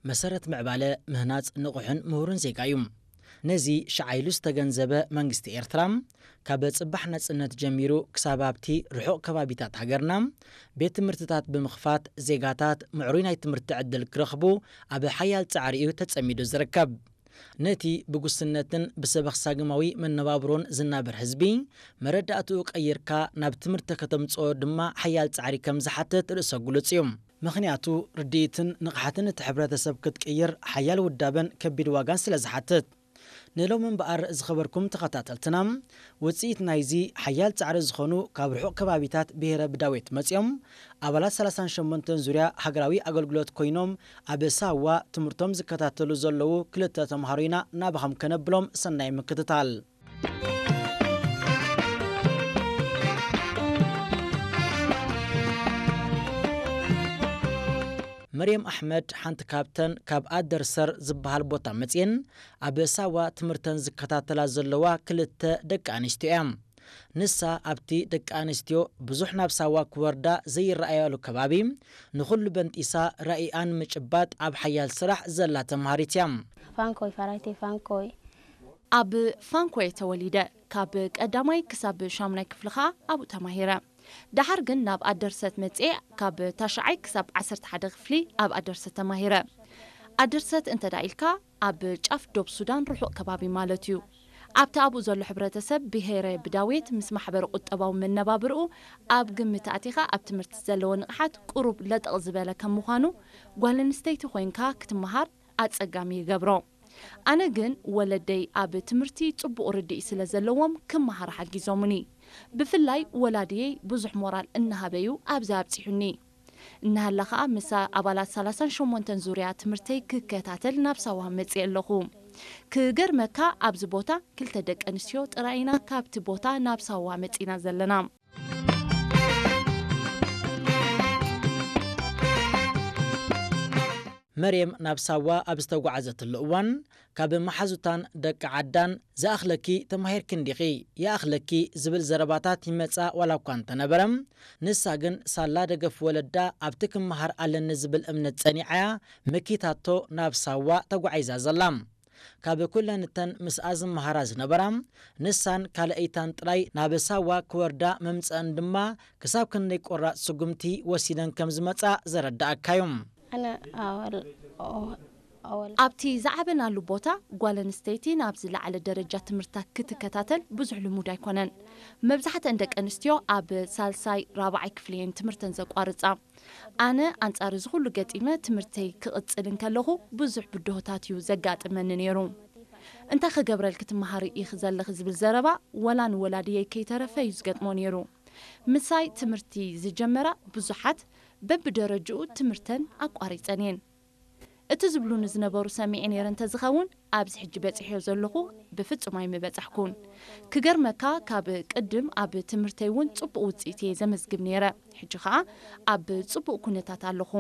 መሰረት ምዕባለ ምህናጽ ንቑሕን ምሁርን ዜጋ እዩ። ነዚ ሸዓ ኢሉ ዝተገንዘበ መንግስቲ ኤርትራ፣ ካብ ጽባሕ ናጽነት ጀሚሩ ክሳብ ኣብቲ ርሑቕ ከባቢታት ሃገርና ቤት ትምህርትታት ብምኽፋት፣ ዜጋታት ምዕሩይ ናይ ትምህርቲ ዕድል ክረኽቡ ኣብ ሓያል ጻዕሪ እዩ ተጸሚዱ ዝርከብ። ነቲ ብጉስነትን ብሰበኽሳግማዊ መነባብሮን ዝናበር ህዝቢ፣ መረዳእትኡ ቀይርካ ናብ ትምህርቲ ከተምጽኦ ድማ ሓያል ጻዕሪ ከም ዝሓትት ርእሰ ግሉጽ እዩ። ምኽንያቱ፣ ርድኢትን ንቕሓትን እቲ ሕብረተሰብ ክትቅይር ሓያል ውዳበን ከቢድ ዋጋን ስለ ዝሓትት። ንሎሚ እምበኣር፣ ዝኸበርኩም ተኸታተልትና፣ ውጽኢት ናይዚ ሓያል ጻዕሪ ዝኾኑ ካብ ርሑቕ ከባቢታት ብሄረ ብዳዌት መጺኦም፣ ኣባላት ሰላሳን ሸሞንተን ዙርያ ሃገራዊ ኣገልግሎት ኮይኖም፣ ኣብ ሳዋ ትምህርቶም ዝከታተሉ ዘለዉ ክልተ ተምሃሮ ኢና ናባኹም ከነብሎም። ሰናይ ምክትታል። መርየም ኣሕመድ ሓንቲ ካብተን ካብ ኣደርሰር ዝበሃል ቦታ መጽየን ኣብ ሳዋ ትምህርተን ዝከታተላ ዘለዋ ክልተ ደቂ ኣንስትዮ እያ። ንሳ ኣብቲ ደቂ ኣንስትዮ ብዙሕ ናብ ሳዋ ክወርዳ ዘይረኣያሉ ከባቢ ንኹሉ በንጢሳ ራኢኣን ምጭባጥ ኣብ ሓያል ስራሕ ዘላ ተምሃሪት እያ። ፋንኮይ፣ ፈራይተይ ፋንኮይ። ኣብ ፋንኮየ ተወሊደ። ካብ ቀዳማይ ክሳብ ሻሙናይ ክፍሊ ኸኣ ኣብኡ ተማሂረ። ደሓር ግን ናብ ኣደርሰት መጽኤ፣ ካብ ታሽዓይ ክሳብ ዓሰርተ ሓደ ክፍሊ ኣብ ኣደርሰት ተማሂረ። ኣደርሰት እንተ ደኣ ኢልካ፣ ኣብ ጫፍ ዶብ ሱዳን ርሑቕ ከባቢ ማለት እዩ። ኣብቲ ኣብኡ ዘሎ ሕብረተሰብ ብሄረ ብዳዌት ምስ ማሕበረ ቁጠባዊ መነባብርኡ ኣብ ግምት ኣቲኻ፣ ኣብ ትምህርቲ ዘለዎ ንቕሓት ቁሩብ ለጠቕ ዝበለ ከም ምዃኑ፣ ጓል ኣንስተይቲ ኮይንካ ክትመሃር ኣጸጋሚ ይገብሮ። ኣነ ግን ወለደይ ኣብ ትምህርቲ ጽቡቕ ርድኢት ስለ ዘለዎም ክመሃር ሓጊዞሙኒ። ብፍላይ ወላድየይ ብዙሕ ሞራል እናሃበዩ ኣብዚ ኣብጺሑኒ። እናሃላ ኸኣ ምስ ኣባላት ሰላሳን ሸሞንተን ዙርያ ትምህርተይ ክከታተል ናብ ሳዋ መጽየ ኣለኹ። ክገርመካ ኣብዚ ቦታ ክልተ ደቂ ኣንስትዮ ጥራይ ኢና ካብቲ ቦታ ናብ ሳዋ መጺና ዘለና። መርየም ናብ ሳዋ ኣብ ዝተጓዓዘትሉ እዋን፣ ካብ መሓዙታን ደቂ ዓዳን "ዝኣኽለኪ ተማሂርኪ እንዲኺ፣ ይኣኽለኪ" ዝብል ዘረባታት ይመጻ ዋላ እኳ እንተነበረ፣ ንሳ ግን ሳላ ደገፍ ወለዳ ኣብቲ ክመሃር ኣለኒ ዝብል እምነት ጸኒዓያ መኪታቶ ናብ ሳዋ ተጓዒዛ ዘላ። ካብ ኩለን እተን ምስኣ ዝመሃራ ዝነበራ፣ ንሳን ካልኣይታን ጥራይ ናብ ሳዋ ክወርዳ መምጽአን ድማ ክሳብ ክንደይ ቆራጽ ስጉምቲ ወሲደን ከም ዝመጻ ዘረድኣካ እዩ። ኣነ ኣወል-፣ ኣወል-፣ ኣብቲ ዝዓበናሉ ቦታ ጓል ኣንስተይቲ ናብ ዝለዓለ ደረጃ ትምህርታ ክትከታተል ብዙሕ ልሙድ ኣይኮነን። መብዛሕትአን ደቂ ኣንስትዮ ኣብ ሳልሳይ ራብዓይ ክፍሊ እየን ትምህርተን ዘቋርጻ። ኣነ ኣንጻር እዚ ኩሉ ገጢመ ትምህርተይ ክቕጽል እንከለኹ ብዙሕ ብድሆታት እዩ ዘጋጥመኒ ነይሩ። "እንታይ ክገብረልኪ ትመሃሪ ኢኺ ዘለኺ?" ዝብል ዘረባ ወላ ንወላድየይ ከይተረፈ እዩ ዝገጥሞ ነይሩ። ምሳይ ትምህርቲ ዝጀመራ ብዙሓት በብደረጅኡ ትምህርተን ኣቋሪጸን እየን። እቲ ዝብሉኒ ዝነበሩ ሰሚዐ ነይረ እንተዝኸውን፣ ኣብዚ ሕጂ በጺሐዮ ዘለኹ ብፍጹም ኣይምበጻሕኩን። ክገርመካ፣ ካብ ቅድም ኣብ ትምህርተይ እውን ጽቡቕ ውጽኢት እየ ዘመዝግብ ነይረ። ሕጂ ኸኣ ኣብ ጽቡቕ ኩነታት ኣለኹ።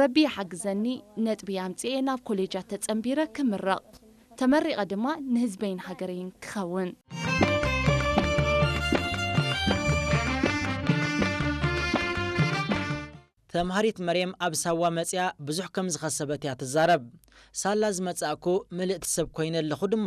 ረቢ ይሓግዘኒ፣ ነጥቢ ኣምጺኤ ናብ ኮሌጃት ተጸንቢረ ክምረቕ። ተመሪቐ ድማ ንህዝበይን ሃገረይን ክኸውን። ተምሃሪት መርየም ኣብ ሳዋ መጽያ ብዙሕ ከም ዝኸሰበት እያ ትዛረብ። "ሳላ ዝመጻእኩ ምልእቲ ሰብ ኮይነ ኣለኹ" ድማ